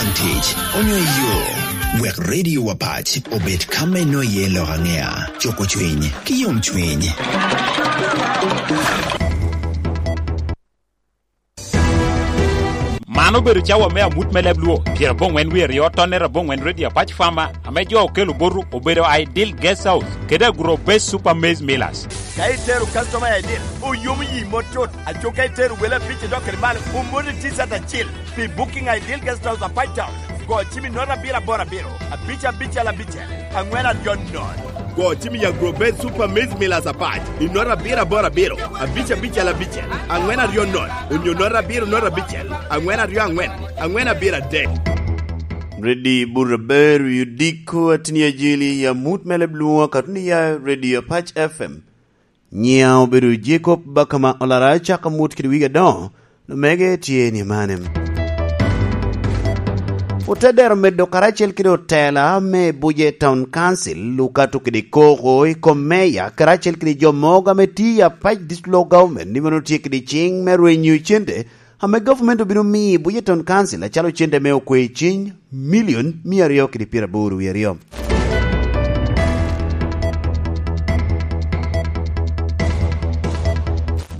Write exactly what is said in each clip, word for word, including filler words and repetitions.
Tic onyo i yo, wek Radio Apac obed ka me nwoye lok aŋea, cuko cwiny ki yom cwiny. Man obedo cawa me amut me leb Luo, pyeraboŋwen wie aryo, tonnere aboŋwen, Radio Apac Farmer, ame jo okelo boto obedo Ideal Guest House kede Agro Base Super Maize Millers. Ka itero customer I D, oyomo yi mot tut. Aco ka itero wele abic idok kede malo, omoti T-shirt acil pi Booking Ideal Guest House Apac Town. Go cim i note abiro aboro abiro, abic abicel abicel, aŋwen aryo nono. Go cim i Agro Base Super Maize Millers Apac i note abiro aboro abiro, abic abicel abicel, aŋwen aryo nono, onyo note abiro note abicel, aŋwen aryo aŋwen, aŋwen abiro adek. Redi Buraberi odiko atini ajili i amut me leb Luo, katuni ya Radio Apac F M. Nyiŋa obedo Jacob Bakama Olara, cako amut kede wigi adoŋo, omege tye ni mane. Otedero medo karacel kede otela me Buje Town Council okato kede koko i kom meya karacel kede jo mogo ame tye i Apac District Local Government ni mano tye kede ciŋ me rwenyo cente ame gavumenti obino miyo Buje Town Council acalo cente me okwe ciny milion mia aryo kede pyeraboro wie aryo.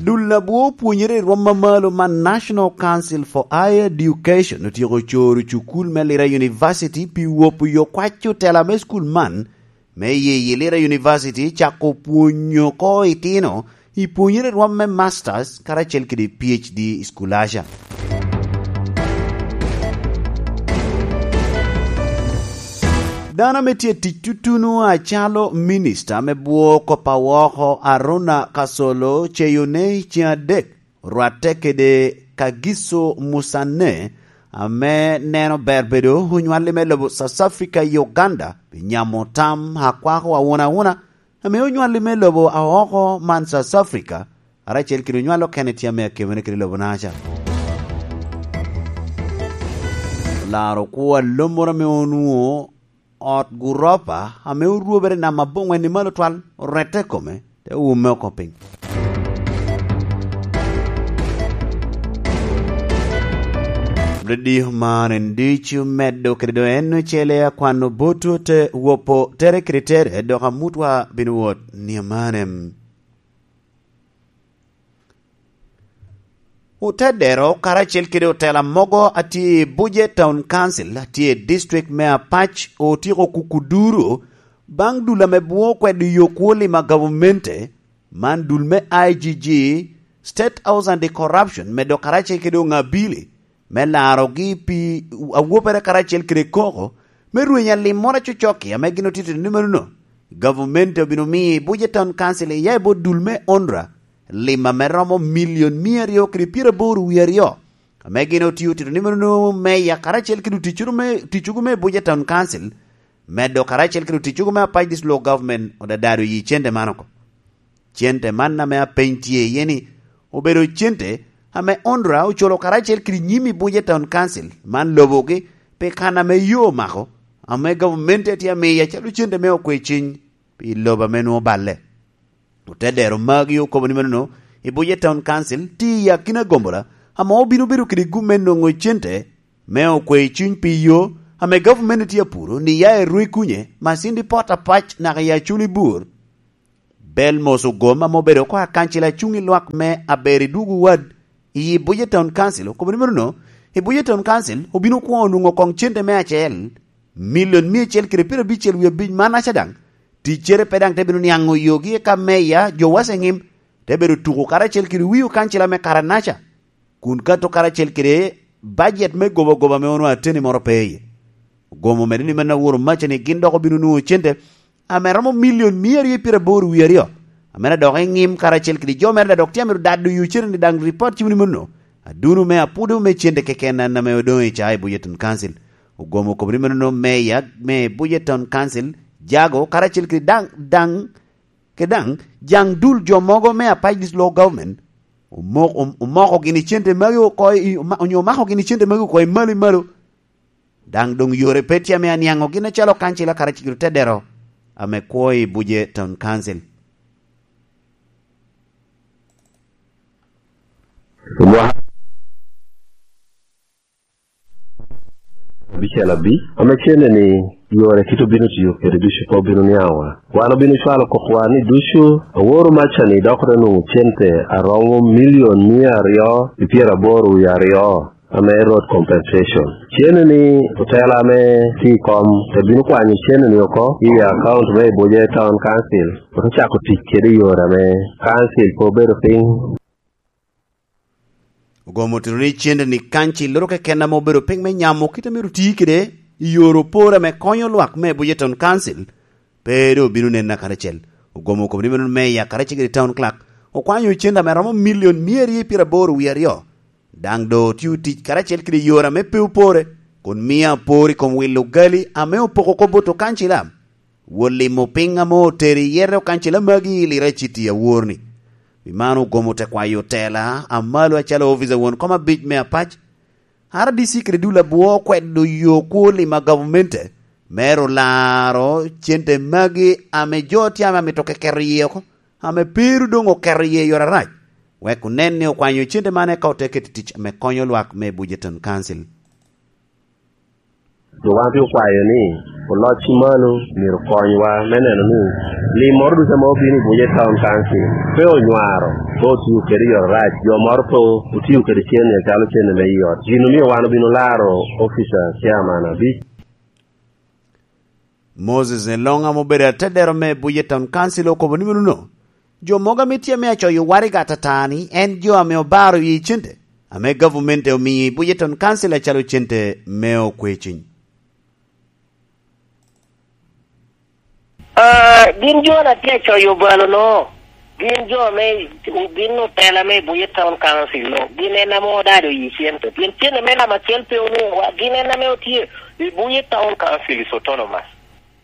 Dul abwo pwonyere i rwom mamalo man National Council for Higher Education otyeko coro cukul me Lira University pi wopo yo kwac otela me cukul man, me yeyi Lira University cako pwonyo oko itino i pwonyere rwom me Masters karacel kede P H D i School Asia. Dano ame tye tic tutunu acalo minista me bwo kop awoko Aruna Kasolo ceyone ceŋ adek, orwatte kede Kagiso Musane, ame neno ber bedo onywalli me lobo South Africa i Uganda, pi nyamo tam akwako awuna awuna, ame onywalli me lobo aoko man South Africa, karacel kede onywal okene tye ame akemere kede lobo naca. Olaro kwo alommoro ame onwoŋo ot guropa ame orwobere i nam aboŋwen i malo twal, orette i kome, te wume oko piny. Radio man en ducu medo kede do en ocele akwano boto te wopo tere kede tere, dok amutwa bino wot ni amane. Otedero karacel kede otela mogo a tye i Buje Town Council, a tye i district me Apac, otyeko kuku duro baŋ dul ame bwo kwedo yo kwo lima gavumenti, man dul me I G G, State House Anti-Corruption, medo karacel kede oŋabili, me larogi pi awopere karacel kede koko, me rwenyo alim moro acocok-ki ame gin otito ni menono. Gavumenti obino miyo i Buje Town Council iya i bot dul me onra, lim ame romo milion mia aryo kede pyeraboro wie aryo, ame gin otio tito ni menono meya karacel kede oticcogo me, oticcogo me Buje Town Council, medo karacel kede oticcogo me Apac District Local Government odadado yi cente man oko. Cente man ame apeny tye iye ni, obedo cente ame onra oculo karacel kede nyim i Buje Town Council man lobogi pi kan ame yo omako, ame gavumenti tye amiyo acalo cente me okwe ciny pi lobo ame nwoŋo balle. Otedero magi okobo ni menono, i Buje Town Council tye i akina gombola ame obino bedo kede gum me nwoŋo cente me okwe ciny pi yo ame gavumenti tye apuro ni ya i Rwekunye, Masindi Port Apac naka i Acholi Bur. Belmos Ogom ame obedo oko akancil acuŋ i lwak me Aber i Dwogo Wad i Buje Town Council okobo ni menono, i Buje Town Council obino kwongo nwoŋo koŋ cente me acel, milion mia acel kede pyerabicel wie abic mannaca daŋ, ticcere pe daŋ te bino niaŋo yogi eka meya jo wace ŋim te bedo tuko karacel kede wii okancila me karanaca, kun kato karacel kede bajet me gobagoba ame onwoŋo ateni moro pe iye. Ogom omedo ni meno aworo maca ni gin dok obino nwoŋo cente ame romo milion mia aryo pyeraboro wie aryo, ame dok i ŋim karacel kede jo mere dok tye amito dado yo cene ni daŋ ripot cimo ni meno aduno me apudo me cente keken an ame odoŋ i caa i Buje Town Council. Ogom okobo ni meno meya me Buje Town Council, jago karacel kede daŋ, daŋ, kede daŋ jaŋ dul jo mogo me Apac District Local Government omok-, om-, omoko gini cente magi oko i, oma-, onyo omako gini cente magi oko i malo i malo. Daŋ doŋ yore pe tye ame aniaŋo gin acalo kancila karacel kede otedero ame kwo i Buje Town Council. Abicel abic, ame cene ni yore kit obino tiyo kede ducu pe obino niaŋwa. Wan obino cwalo kokwa ni ducu aworo maca ni dok te nwoŋo cente aromo milion mia aryo pi pyeraboro wie aryo, ame road compensation. Cene ni otela ame tye i kom te bino kwanyo cene ni oko i account me Ibuja Town Council, ote cako tic kede i yore ame council pe obedo piny. Ogomo tito ni cente ni kancil loro keken ame obedo piny me nyamo kit a myero oti kede i yore opore ame konyo lwak me Ibuja Town Council pe doŋ obino nen akaracel. Ogomo okobo ni meno meya karacel kede town clerk okwanyo cente ame romo milion mia aryo i pyeraboro wie aryo. Daŋ doŋ otio tic karacel kede yore ame pe opore, kun mia apor i kom wilo gali ame opoko kop bot okancila. Wot limo piny ame otero i yete okancila magi i Lira City awor-ni. Pi man ogomo te kwayo tela a malo acalo opic a won kom abic me Apac, R D C kede dul abwo okwedo yo kwo limo a gavamente me ru laro cente magi ame jo tye ame amito keketo iye oko, ame pe ru doŋ oketo iye i yore arac, wek onen ni okwanyo cente man eka ote keto i tic me konyo lwak me Bujeton Council. Dok wan te okwayo ni oloc ki malo myero okonywa me neno ni lim moro ducu ame obino i Buja Town Council pe onywaro, pe otio kede i yore arac, jo moro pe otio kede cen-ni acalo cen-ni me i ot. Gin omio wan obino laro opic a cairman abic. Moses Elong ame obedo atedero me Buja Town Council okobo ni meno no, jo mogo ame tye ame acoyo waraga atata ni en jo ame obaro i cente ame gavumenti omiyo i Bujeton Council acalo cente me okweciny. Ah, gin jo na tye acoyo obalo no, gin jo me gin otela me Buye Town Council no, gin en ame odado i cente. Pien cente me namba acel pe onwoŋowa, gin en ame otye i Buye Town Council is autonomous.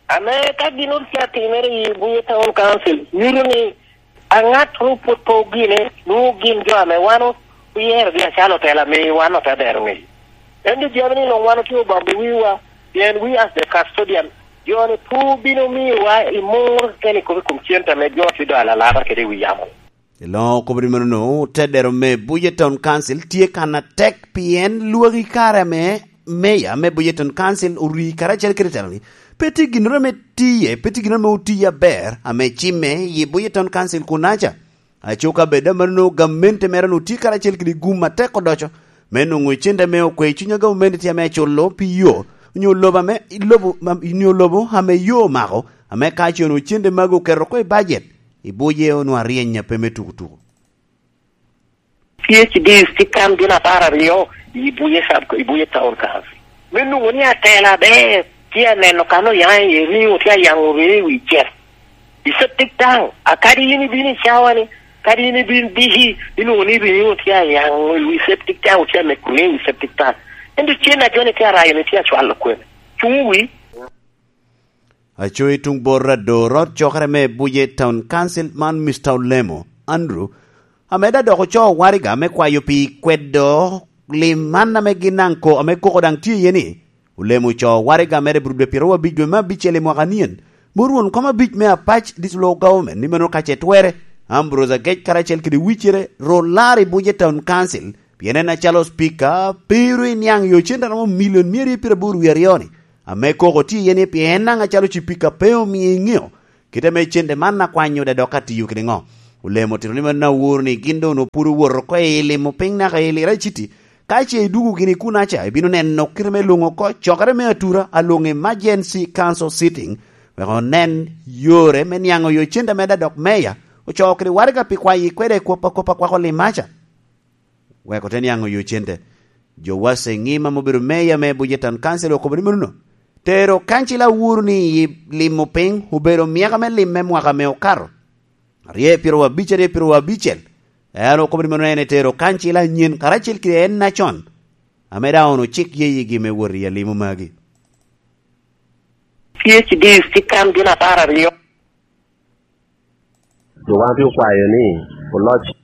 Ame ka gin otye atimere i Buye Town Council, nyuto ni aŋat ru pwod pe ogine, nwoŋo gin jo ame wan oyerogi acalo otela ame wan ote dero ŋeyo. Ento jami ni luŋ wan otye obambo wiwa, pien we as the custodian, jo ni pur bino miyowa i mur keni kop i kom cente ame jo tye do alalaba kede i wi yamo. Eloŋo okobo ni mano no, tedero me Buye Town Council tye kan atek pien lwaki kare ame meya me Buye Town Council ori karacel kede telo ni pe tye ginnoro ame tiye, pe tye ginnoro ame otiye aber ame cimme i Buye Town Council kunaca. Aco ka bed amanno gamente mere onwoŋo tye karacel kede gum atek odoco me nwoŋo cente ame okwe i cuny a gamente tye ame aculo pi yo onyo lobo ame lobo onyo lobo ame yo omako, ame ka ce onwoŋo cente magi oketo oko i bajet, i buce onwoŋo aryeny a pe me tukutuku. P H Ds tye kan gin apar aryo i buye sub i buye town council. Me nwoŋo ni atela aber tye aneno kan oyaŋ iye riŋo tye ayaŋo ree i wi cel. I septic tank, a kadi in ibino i cawa ni, kadi in ibin diki, inwoŋo ni riŋo tye ayaŋo i wi septic tank, otye ameko riŋo i wi septic tank. Ento cen a joni tye arayo ni tye acwalo kwene. Cuŋ wi. Aco i tuŋ bot Rador, ot cokere me Buje Town Council man Mister Olemo Andrew, ame da dok ocoo waraga me kwayo pi kwedo lim man ame gin daŋ ko ame koko daŋ tye iye ni, Olemo ocoo waraga mere Burude pyeraryo abic dwe me abicel i mwaka nien, bot won kom abic me Apac District Local Government ni meno ka ce twere, Ambrose Agec karacel kede wicere ro lar i Buje Town Council, pien en acalo Speaker pe ru iniaŋ yo cente a romo milion mia aryo pyeraboro wie aryo-ni, ame koko tye iye ni pien en daŋ acalo Cipika pe omio iŋeo kite ame cente man akwanyo dok atiyo kede ŋo. Olemo otito ni mano aworo ni gin doŋ onwoŋo pwod owoto oko i limo piny naka i Lira City. Ka ce idwogo gini kunaca, ibino neno kite me lwoŋo oko cokere me atura a lwoŋo Emergency Council Sitting, wek onen yore me niaŋo yo cente ame da dok meya ocoo kede waraga pi kwayo ikwede i kop a kop a kwako limaca. Wek ote niaŋ oyo cente. Jowa Seŋim ame obedo meya me Bujetan Kancil okobo ni mano no, tero kancil awuru ni i limo piny obedo myaka me lim me mwaka me okato aryo pyeraryo abic aryo pyeraryo abicel. En okobo ni mano en etero kancil anyen karacel kede en acon, ame daŋ ono cik ye yigi me wot i alimo magi. P H Ds tye kan gin apar aryo. Dok wan te okwayo ni oloc.